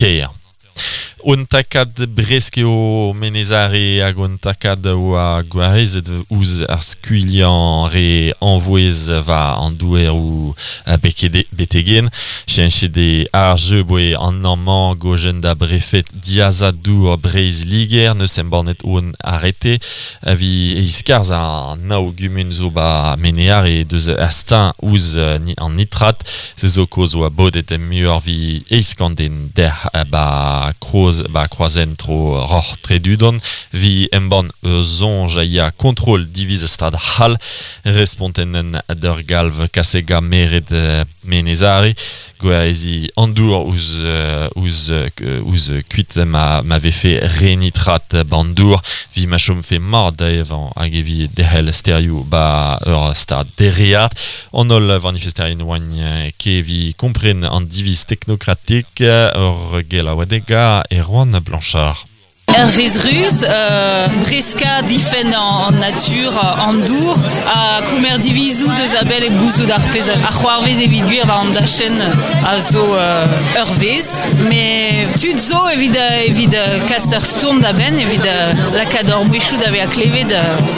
Kêr. Un takad bresk eo Menez-Are hag un takad oa gwarezet ouzh ar skuilhañ re anvouez war an doueroù betegen. Cheñchet eo ar jeu boe an amañ gojenn da brefed diazad-dour Breizh-Liger neus embannet hon arete evit iskarzhañ an nav gumun zo ba Menez-Are deus ar steuñv ouzh an nitrat. Se zo kaoz oa bodet muioc'h 'vit 800 den dec'h 'ba kroz 'ba kroazhent tro Roc'h Tredudon 'vit embann ur soñj a ya kontrol diviz Stad C'hall respontenn d'ur galv kaset gant maered Menez-Are gwareziñ an dour ouzh ouzh ouzh kuit ma ma vefe re nitrat 'ban dour 'vit ma chomfe mat da evañ hag evit derc'hel stêrioù 'ba ur stad dereat. An holl vanifesterien oant ket evit kompren an diviz teknokratek ur gelaouadeg a Erwan Blanchard. Hervez Ruz, breskañ difenn an natur, an dour, ha komer divizoù deus a-bell hep gouzout ar pezh a c'hoarvez evit gwir war an dachenn a zo ur vezh. Met tud zo evit evit kas ur stourm da benn, evit lakaat hor mouezhioù da vezañ klevet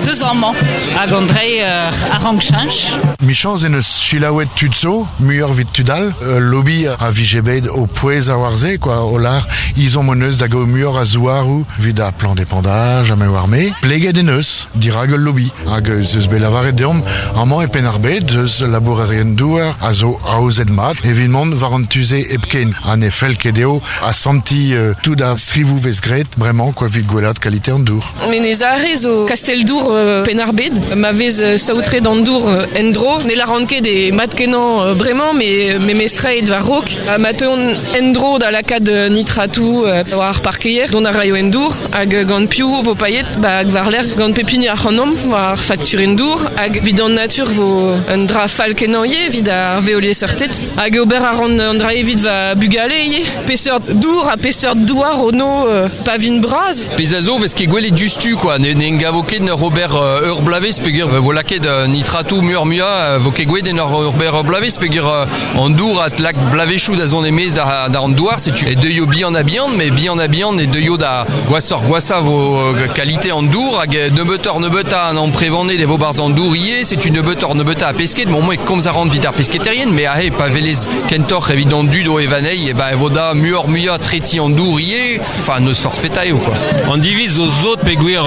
deus amañ. Hag an dreiñ a rank cheñch. Michañs en deus selaouet tud zo, muioc'h evit tud all. Ul lobby a vije bet o pouezañ war se, quoi, o lâr ezhomm hon eus da gaout muioc'h a zouaroù evit ar plan d'épandage ha me oar me. Pleget en deus dirak ul lobby. Hag ez eus bet lavaret deomp amañ e Penn-ar-Bed eus labourerien-douar a zo aozet mat evit mont war an tu-se hepken ha ne fell ket dezho asantiñ tout ar strivoù 'vez graet bremañ quoi, evit gwellaat kalite an dour. Menez-Are zo kastell-dour Penn-ar-Bed ma vez saotret an dour en-dro. Ne lâran ket eo mat-kenañ bremañ, met memestra eo war-raok. Ma teuont en-dro da lakaat nitratoù war ar parkeier, dont a raio en dour hag gant piv vo paeet ba war-lerc'h gant pep hini ac'hanomp war ar fakturenn dour hag evit an natur vo un dra fall-kenañ ivez evit ar veoliesseurted. Hag ober a ran an dra evit va bugale ivez. Peseurt dour ha peseurt douar ono pa vin bras? Pezh a zo 'vez ket gwelet diouzhtu quoi, ne ne gavo ket 'n ur ober ur bloavezh peogwir 'vo lakaet nitratoù muioc'h-muiañ, 'vo ket gwelet en ur ober ur bloavezh peogwir an dour a lak bloavezhioù da zont e-maez da da an douar, setu e deuio bihan-ha-bihan, met bihan-ha-bihan e deuio da gwashoc'h-gwashañ 'vo kalite an dour hag nebeutoc'h-nebeutañ an amprevaned e vo 'barzh an dour ivez, setu nebeutoc'h-nebeutañ a pesked, bon moi e komz a ran evit ar pesketerien, mais aze pa welez kentoc'h evit an dud o evañ anezhi, e ben e vo da muioc'h-muiañ tretiñ an dour ivez. Enfin, n'eus forzh petra eo, quoi. An diviz zo sot peogwir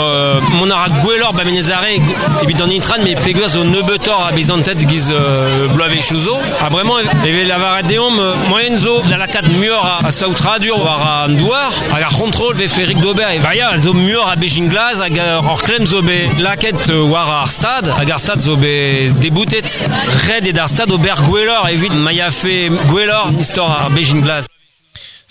mont a ra gwelloc'h ba Menez-Are evit an intran, met peogwir zo nebeutoc'h a bezanted giz bloavezhioù zo. Ha bremañ e vez lavaret deomp moaien zo da lakaat muioc'h a saotradur war an douar hag ar c'hontrol vefe rik d'ober. Ba ya, zo muioc'h a bezhin glas hag ur klemm zo bet lakaet war ar stad hag ar stad zo bet deboutet. Ret eo d'ar stad ober gwelloc'h evit ma yafe gwelloc'h istor ar bezhin glas.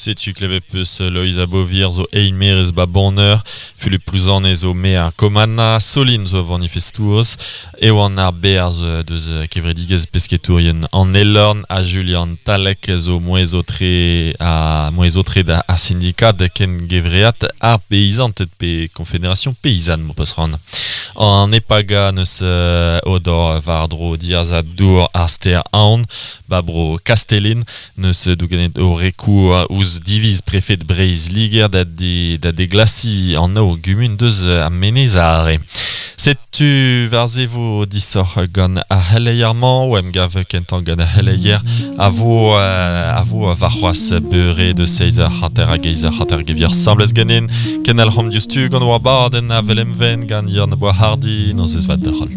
Setu klevet peus Loeiza Beauvier zo eilmaerez ba Bonheur, Fulup Plouzane zo maer Kommanna, Soline zo vanifestourez, Ewan ar Berz deus kevredigezh pesketourien an Elorn ha Julian Talec zo mouezh-aotre ha mouezh-aotre da ar sindikad kengevread ar beizanted pe Confédération Paysanne m'ho peus c'hoant. An Epaga neus odor war-dro diazad dour ar stêr Aon ba bro Kastellin N'eus dougenet o rekour ouzh diviz prefed Breizh-Liger da da deglasiñ an nav gumun deus ar Menez-Are. Setu war-se vo disoc'h gant ar c'heleier-mañ o emgav kentañ gant ar c'heleier a vo a vo warc'hoazh beure deus 7h50 hag 8h50 gevier asambles ganin. Kenalc'homp diouzhtu gant war badenn Avel Emven gant Yann Boishardy. Nozvezh vat deoc'h holl.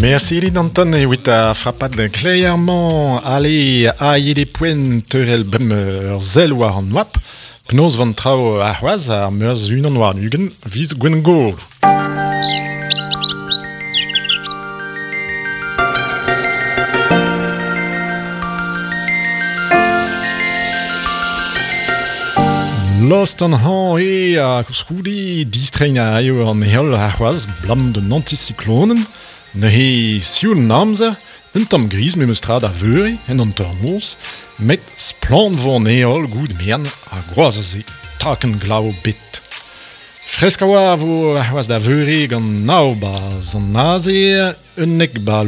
Merci dit Anton evit ar frapad kleier-mañ. Ale, aet eo poent teurel bemp ur sell war an oabl. Penaos van traoù arc'hoazh ar meurzh 21 viz Gwengolo. Lost an hañv eo ha koulskoude distreiñ a raio an heol arc'hoazh 'blam d'un anticyclonenn. Neuze sioul an amzer, un tamm griz memestra da veure en hanternoz, met splann 'vo an heol goude merenn ha gwazh a se, takenn glav bet. Fresk a oa vo a c'hoaz da veure gant nao ba zan naze, unnek ba